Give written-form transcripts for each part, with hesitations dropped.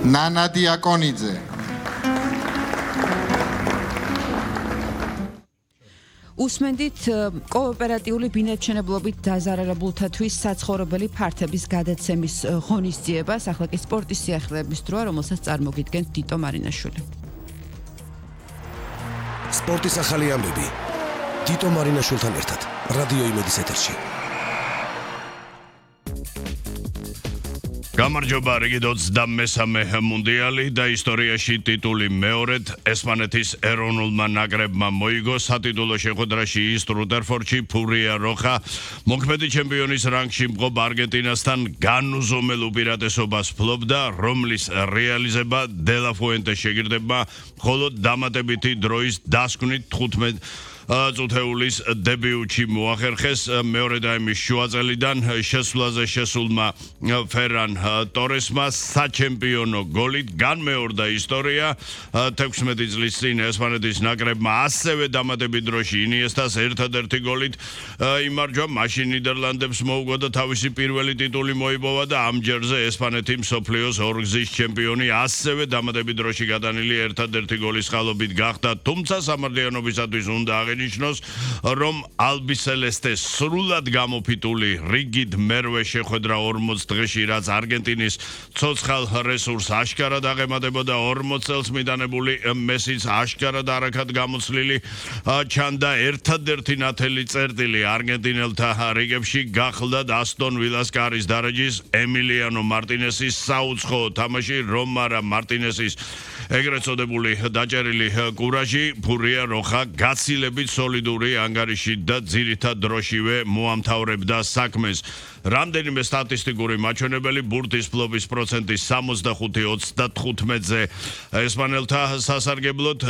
ნანა დიაკონიძე. უსმენდით კოოპერატიული ბინადმშენებლობით დაზარალებულთათვის საცხოვრებელი ფართების გადაცემის ღონისძიებას, ახლა კი სპორტის სიახლეების დროა, რომელსაც წარმოგიდგენთ დიტო მარინაშვილი. სპორტის ახალი ამბები დიტო მარინაშვილთან ერთად რადიო იმედის ეთერში. გამარჯობა, რიგი 23 მუნდიალი და ისტორიაში ტიტული მეორედ ესპანეთის ეროვნულმა ნაკრებმა მოიგო სატიტულო შეხვედრაში ის რუთერფორდში ფურია როხა მოქმედი ჩემპიონის რანგში მყოფ არგენტინასთან განუზომელ უპირატესობას ფლობდა, რომლის რეალიზება დელა ფუენტეს შეგირდებმა მხოლოდ დამატებითი დროის დასკვნით 15 წუთეულის დებიუტში მოახერხეს. მეორე დაიმის შუაწელიდან შესვლაზე შესულმა ფერან ტორესმა საჩემპიონო გოლით განმეორდა ისტორია. 16 წლის წინ ესპანეთის ნაკრებმა ასევე დამატებით დროში ინიესტას ერთადერთი გოლით იმარჯვა, მაშინ ნიდერლანდებს მოუგო და თავისი პირველი ტიტული მოიპოვა და ამ ჯერზე ესპანეთი მსოფლიოს ორგზის ჩემპიონი ასევე დამატებით დროში გადანილი ერთადერთი გოლის ხალობით გახდა, თუმცა სამართლიანობისათვის უნდა ნიშნავს, რომ ალბისელესტეს სრულად გამოფიტული რიგით მერვე შეხვედრა 40 დღეში, რაც არგენტინის ცოცხალ რესურსს აშკარად აღემატებოდა 40 წელს მიტანებული მესის აშკარად არაქად გამოცლილი ჩანდა ერთადერთი ნათელი წერტილი არგენტინელთა რიგებში გახლდათ ასტონ ვილას კარის დარაჯის ემილიანო მარტინესის საუცხოო თამაში, რომარა მარტინესის ეგრეთ წოდებული დაჭერილი კურაჟი ფურია როხა გაცილებით სოლიდური ანგარიში და ძირითად დროშივე მოამთავრებდა საქმეს. რამდენიმე სტატისტიკური მაჩვენებელი ბურთის ფლობის პროცენტი 65-35-ზე ესპანელთა სასარგებლოდ,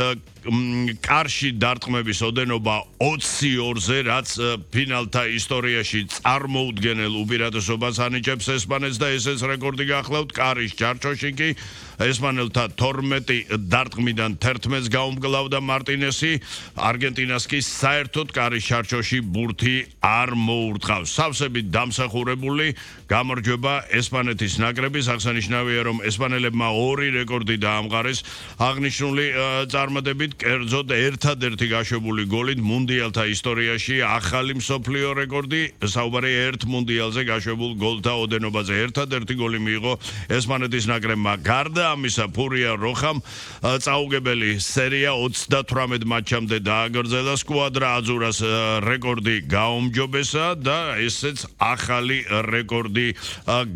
კარში დარტყმების ოდენობა 22-ზე, რაც ფინალთა ისტორიაში წარმოუდგენელ უპირატესობას ანიჭებს ესპანეთს და ესეც რეკორდი გახლავთ. კარის ჩარჩოში კი ესპანელთა 12 დარტყმიდან 11-ს გაუმკლავდა მარტინესი, არგენტინას კი საერთოდ კარის ჩარჩოში ბურთი არ მოურტყავს. სავსებით დამსახურებული გამარჯვება ესპანეთის ნაკრების, აღსანიშნავია, რომ ესპანელებმა 2 რეკორდი დაამყარეს აღნიშნული წარმატებით, კერძოდ ერთადერთი გაშვებული გოლით მუნდიალთა ისტორიაში ახალი მსოფლიო რეკორდი, საუბარი ერთ მუნდიალზე გაშვებულ გოლთა ოდენობაზე. ერთადერთი გოლი მიიღო ესპანეთის ნაკრებმა. გარდა ამისა, ფურია როხამ წაუგებელი სერია 38 მატჩამდე დააგრძელა, სკვადრა აზურას რეკორდი გაუმჯობესა და ესეც ახალი რეკორდი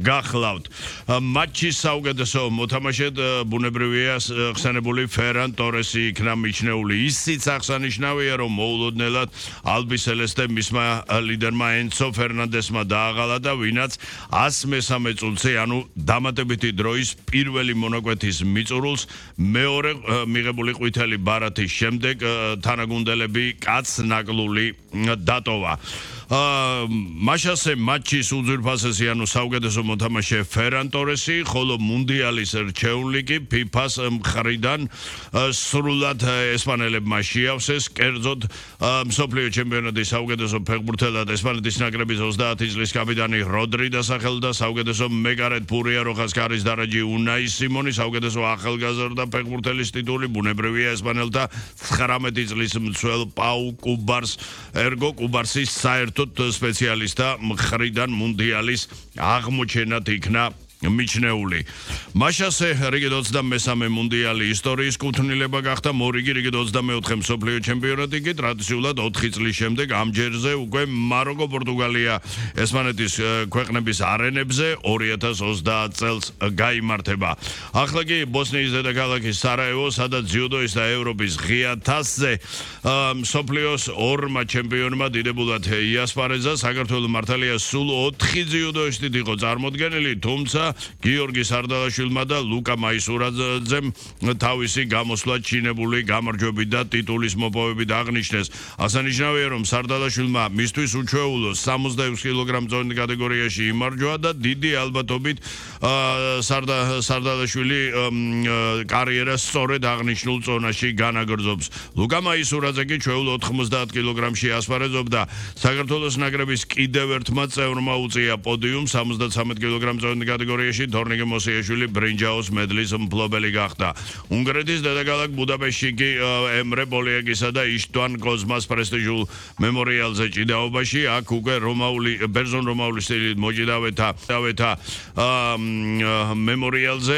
გახლავთ. მატჩის საუკეთესო მოთამაშედ ბუნებრივია ხსენებული ფერან ტორესი იქნა მიჩნეული. ისიც აღსანიშნავია, რომ მოულოდნელად ალბისელესტე მისმა ლიდერმა ენცო ფერნანდესმა დააღალა და ვინაც 103 წუთზე, ანუ დამატებითი დროის პირველი მონაკვეთის მიწურულს მეორე მიღებული ყვითელი ბარათის შემდეგ თანაგუნდელები კაცნაკლული დატოვა. მაშასე მატჩის უძვირფასესი, ანუ საუკეთესო მოთამაშე ფერან ტორესი, ხოლო მუნდიალის რჩეული კი ფიფას მხრიდან სრულად ესპანელებმა შეავსეს. კერძოდ მსოფლიო ჩემპიონატის საუკეთესო ფეხბურთელად ესპანეთის ნაკრების 30 წლის კაპიტანი როდრი დასახელდა, საუკეთესო მეკარედ ფურია როხას კარის დარაჯი უნაი სიმონი, საუკეთესო ახალგაზრდა ფეხბურთელის ტიტული ბუნებრივია ესპანელთა 19 წლის მცველ პაუ კუბარს ერგო კუბარსის საერთოდ სპეციალისტთა მხრიდან მუნდიალის აღმოჩენად იქნა მიჩნეული. მაშასე რიგით 23 მუნდიალი ისტორიის კუთვნილება გახდა, მორიგი რიგით 24 მსოფლიო ჩემპიონატი კი ტრადიციულად 4 წლის შემდეგ ამ ჯერზე უკვე მაროკო, პორტუგალია, ესპანეთის ქვეყნების არენებზე 2030 წელს გაიმართება. ახლა კი ბოსნიის დედაქალაქი სარაევო, სადაც ძიუდოის და ევროპის ღია თასზე მსოფლიოს 2 ჩემპიონმა დიდებულად იასპარეზა. საქართველოს მართალია სულ 4 ძიუდოისტით იყო წარმოდგენილი, თუმცა გიორგი სარდალაშვილმა და ლუკა მაისურაძემ თავისი გამოსვლა ჩინებული გამარჯვებით და ტიტულის მოპოვებით აღნიშნეს. აღსანიშნავია, რომ სარდალაშვილმა მისთვის უჩვეულო 66 კილოგრამ წონით კატეგორიაში იმარჯვა და დიდი ალბათობით სარდალაშვილი კარიერას სწორედ აღნიშნულ წონაში განაგრძობს. ლუკა მაისურაძე კი ჩვეულ 90 კილოგრამში ასპარეზობდა. საქართველოს ნაკრების კიდევ ერთმა წევრმა უწია პოდიუმს 73 კილოგრამ წონით კატეგორიაში ისტორიაში თორნიკე მოსიაშვილი ბრინჯაოს მედლის მფლობელი გახდა. უნგრეთის დედაქალაქ ბუდაპეშტში კი ემრე პოლიაკისა და იშტვან კოზმას პრესტიჟულ მემორიალზე ჭიდაობაში აქ უკვე ბერძენ-რომაული სტილით მოჭიდავეთა მემორიალზე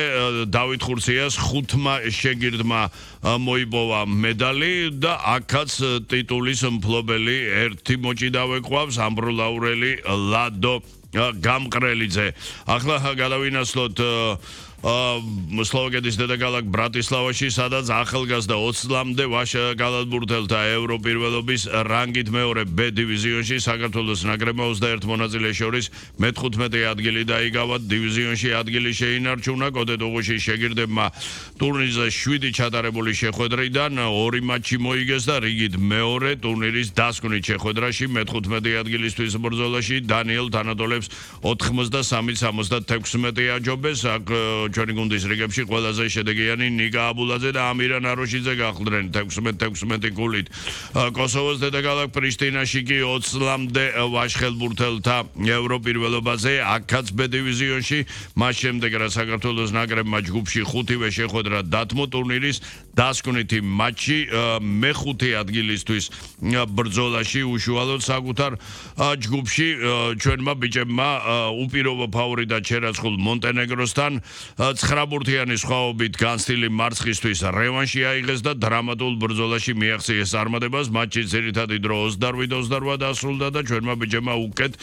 დავით ხურციას 5 შეგირდმა მოიპოვა медали და აქაც ტიტულის მფლობელი ერთი მოჭიდავე ყავს ამბროლაურელი ლადო გამყრელიძე. ახლა გადავინაცვლოთ სლოვაკეთის დედაქალაქ ბრატისლავაში, სადაც ახალგაზრდა 20-მდე ვაშა გალათბურთელთა ევროპირველობის რანგით მეორე B დივიზიონში საქართველოს ნაკრებმა 21 მონაწილეს შორის მე-15 ადგილი დაიკავა. დივიზიონში ადგილი შეინარჩუნა კოდეტოღუში შეგირდებმა ტურნირზე 7 ჩატარებული შეხვედრიდან 2 მატჩი მოიგეს და რიგით მეორე ტურნირის დასკვნით შეხვედრაში მე-15 ადგილისთვის ბრძოლაში დანიელ თანატოლებს 83-76 აჯობეს. ჩვენი გუნდის რიგებში ყველაზე შედეგიანი ნიკა აბულაძე და ამირან აროშიძე გახლდნენ 16 გოლით. კოსოვოს დედაქალაქ პრიშტინაში კი 20-მდე ვაშხელბურთელთა ევროპირველობაზე აქაც B დივიზიონში მას შემდეგ რა საქართველოს ნაკრებმა ჯგუფში 5-ვე შეხვედრა დათმო ტურნირის დასკვნითი მატჩი მე-5 ადგილისთვის ბრძოლაში უშუალოდ საკუთარ ჯგუფში ჩვენმა ბიჭებმა უპირობო ფავორიტად შერაცხულ მონტენეგროსთან 9 ბურთიანი სხვაობით განცდილი მარცხისთვის რევანში აიღეს და დრამატულ ბრძოლაში მიაღწიეს წარმატებას. მატჩის ძირითადი დრო 28-28 დასრულდა და ჩვენმა ბიჭებმა უკეთ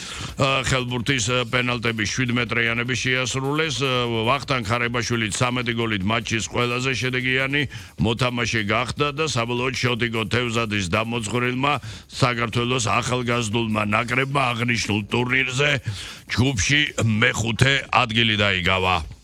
ხელბურთის პენალტების 7 მეტრიანები შეასრულეს. ვახტანგ ხარებაშვილი 13 გოლით მატჩის ყველაზე შედეგიანი მოთამაშე გახდა და საბოლოოდ შოტიკო თევზადის დამოწვრილმა საქართველოს ახალგაზრდულმა ნაკრებმა აღნიშნულ ტურნირზე ჯგუფში მე-5 ადგილი დაიკავა.